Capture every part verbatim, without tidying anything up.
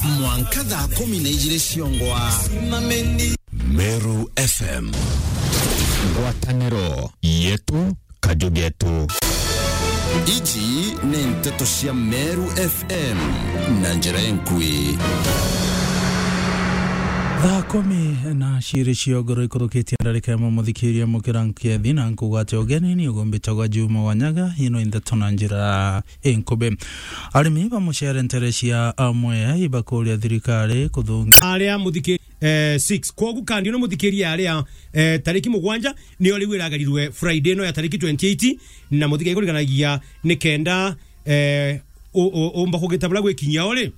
Mwanka thaa kumi na ijiri ciongwa. Meru F M. Ngwataniro yetu, kaju getu. Iji ni nteto cia Meru F M na njira enkui. Thaa kumi na ciiri cia ugoro ikurukitie ndarika imwe, muthikiria mukira nkethi na nkugwate ugeni ni ugumbitagwa Juma Wanyaga. Ino i nteto na njira inkubi. Arimi ba mucere ntere cia Mwea ibakuria thirikari kuthungi- aria muthiki-, eh, six. Kwogu kandi uno muthikiria aria, eh, tariki mugwanja nio riu iragarirwe Friday no ya tariki twenty-eight, na muthikiria kuriganagia ni kenda, eh, u-, u-, umba kugitabura gwikinyia uri,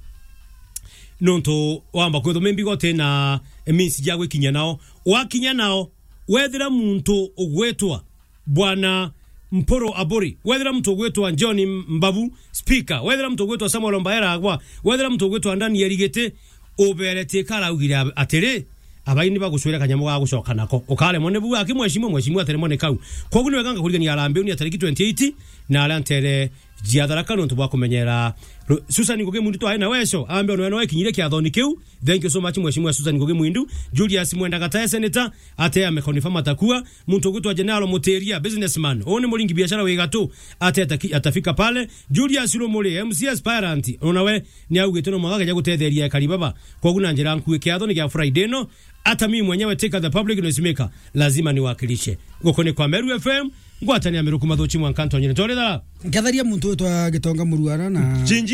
nontu wamba kwithwa maybe gote na means ja gwikinyia nao. Wakinya nao, wethira muntu ugwitwa Bwana Mpuru Aburi, wethira muntu ugwitwa John Mbabu, speaker, wethira muntu ugwitwa Samuel Mbaera Agwa, wethira muntu ugwitwa Daniel Giti, uberetie karaugire ab-, atiri, abai ni bagucwira kanyamo ga gucoka nako. Ukaremwa ni bu aki mheshimiwa, mheshimiwa ateremwa ni kau. Kwogu ni wega ngakurigania Harambee ni ya tariki twenty-eight, na aria ntere jia Tharaka nontu bwa kumenyera ru-, Susan Ngugi Mwindu twari na weco, ambe ono no ekinyire kiathoni kiu. Thank you so much, Mheshimiwa Susan Ngugi Mwindu. Julius Mwenda Gatae, Senator, ate amekonifirm atakua. Muntu ugwitwa General Mutiria, businessman. Uu ni muringi biashara wi gatu, ate ataki-, atafika pale. Julius Rumuri, M C aspirant, ona we ni augite no mwanka akeja gutetheria ekari baba. Kwogu na njira nkui kiatho ni gia Friday no, hata mimi mwenyewe Tika the public noise maker, lazima niwakilishe. Guku ni kwa Meru F M, ngwatania Meru kumathuchi mwanka ntonyere. Twarithara. Nketharia muntu witwa Gitonga Muruara na Jinji.